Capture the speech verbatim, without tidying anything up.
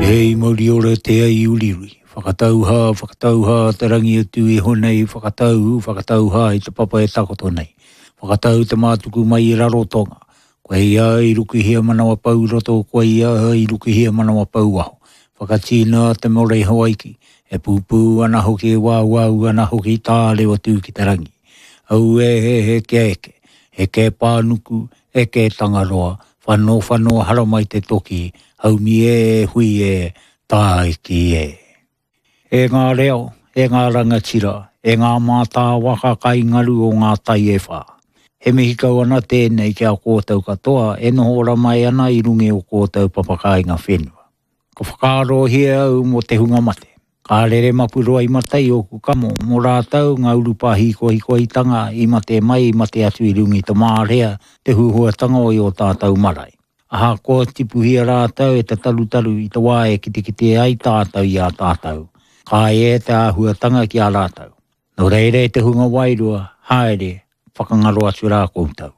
Hei mauri ora te ai uriuri. Whakatauhā, whakatauhā te rangi atu iho nei, whakatau, whakatauhā i te papa e takoto nei. Whakatau te mātuku mai i Rarotonga. Koe ia i rukuhia manawa pau roto, koe ia i rukuhia manawa pau aho. Whakatīna te more Hawaiki. E pūpū ana hoki, e wāwāu ana hoki tāre o tū ki te rangi. Au e he he ke eke, he ke pānuku, e ke tangaroa, whano whano haramai te toki, haumi e hui e, tāiki e. E ngā reo, e ngā rangatira, e ngā mātā waka kai ngaru o ngā tai e whā. He mihi kau ana tēnei ki a kōtau katoa e noho ora mai ana i runga o kōtau papakāinga whenua. Ka whakaarohia au mō te hunga mate. Ka rere mapuroa i matai o kukamo, mō rātau ngā urupā hikohikoitanga i mate mai i mate atu i runga i te mārea, te huhuatanga o i o tātau marae. Aha koa tipuhia rātau e te tarutaru i te wā e kitekite ai tātau i a tātau. Ka e te āhuatanga ki a rātau. Nō reira e te hunga wairua, haere, whakangaro atu rā koutou.